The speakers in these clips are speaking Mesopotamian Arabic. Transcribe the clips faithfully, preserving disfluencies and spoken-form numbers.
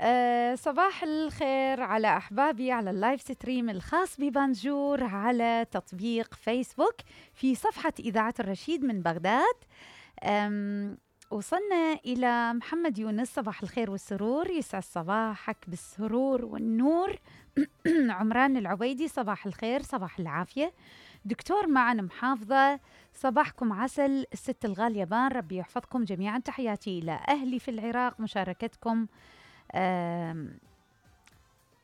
أه صباح الخير على أحبابي على اللايف ستريم الخاص ببانجور على تطبيق فيسبوك في صفحة إذاعة الرشيد من بغداد. وصلنا إلى محمد يونس. صباح الخير والسرور، يسعد صباحك بالسرور والنور. عمران العبيدي صباح الخير، صباح العافية. دكتور معن محافظة، صباحكم عسل. الست الغالية بان، ربي يحفظكم جميعا. تحياتي إلى أهلي في العراق، مشاركتكم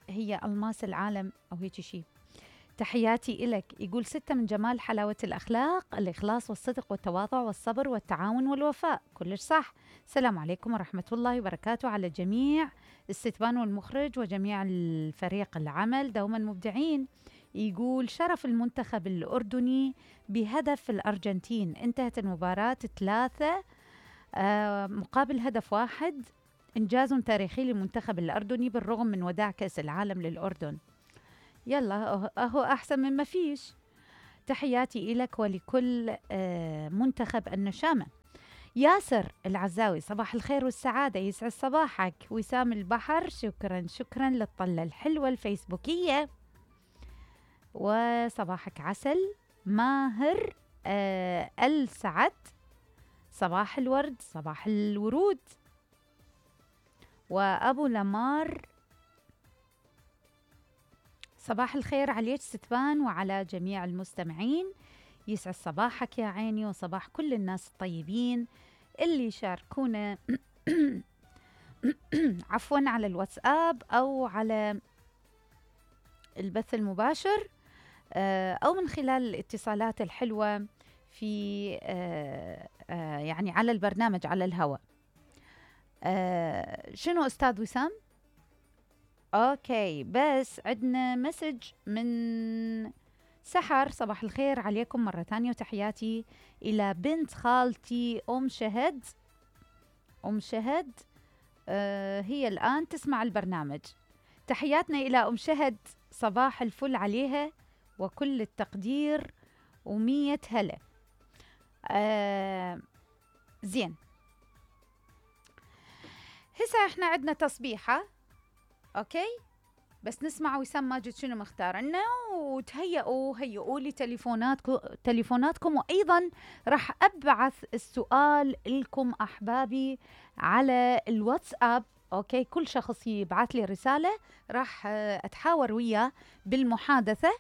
هي ألماس العالم أو هيك شيء. تحياتي إلك. يقول ستة من جمال حلاوة الأخلاق الإخلاص والصدق والتواضع والصبر والتعاون والوفاء. كلش صح. السلام عليكم ورحمة الله وبركاته على جميع الستبان والمخرج وجميع الفريق العمل، دوما مبدعين. يقول شرف المنتخب الأردني بهدف الأرجنتين. انتهت المباراة ثلاثة آه مقابل هدف واحد. إنجاز تاريخي للمنتخب الأردني بالرغم من وداع كأس العالم للأردن. يلا أهو أحسن من ما فيش. تحياتي إلك ولكل آه منتخب النشامة. ياسر العزاوي، صباح الخير والسعادة، يسعد صباحك. وسام البحر، شكرا شكرا للطلة الحلوة الفيسبوكية، وصباحك عسل. ماهر آه السعد، صباح الورد صباح الورود. وأبو لمار، صباح الخير عليك ستبان وعلى جميع المستمعين. يسعد صباحك يا عيني وصباح كل الناس الطيبين اللي شاركونا عفوا على الواتساب أو على البث المباشر أو من خلال الاتصالات الحلوة في يعني على البرنامج على الهواء. شنو أستاذ وسام؟ أوكي، بس عندنا مسج من سحر. صباح الخير عليكم مرة ثانية وتحياتي إلى بنت خالتي أم شهد. أم شهد آه هي الآن تسمع البرنامج. تحياتنا إلى أم شهد، صباح الفل عليها وكل التقدير ومية هلا. آه زين، هسه احنا عندنا تصبيحة. اوكي، بس نسمع وسام ماجد شنو مختار لنا، وتهيئوا هيئوا لي تليفوناتكم تليفوناتكم وايضا راح ابعث السؤال لكم احبابي على الواتساب. اوكي، كل شخص يبعث لي رسالة راح اتحاور وياه بالمحادثة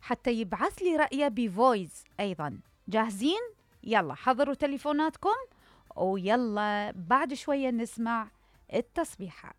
حتى يبعث لي رأيه بفويس. ايضا جاهزين؟ يلا حضروا تليفوناتكم ويلا بعد شوية نسمع التصبيحة.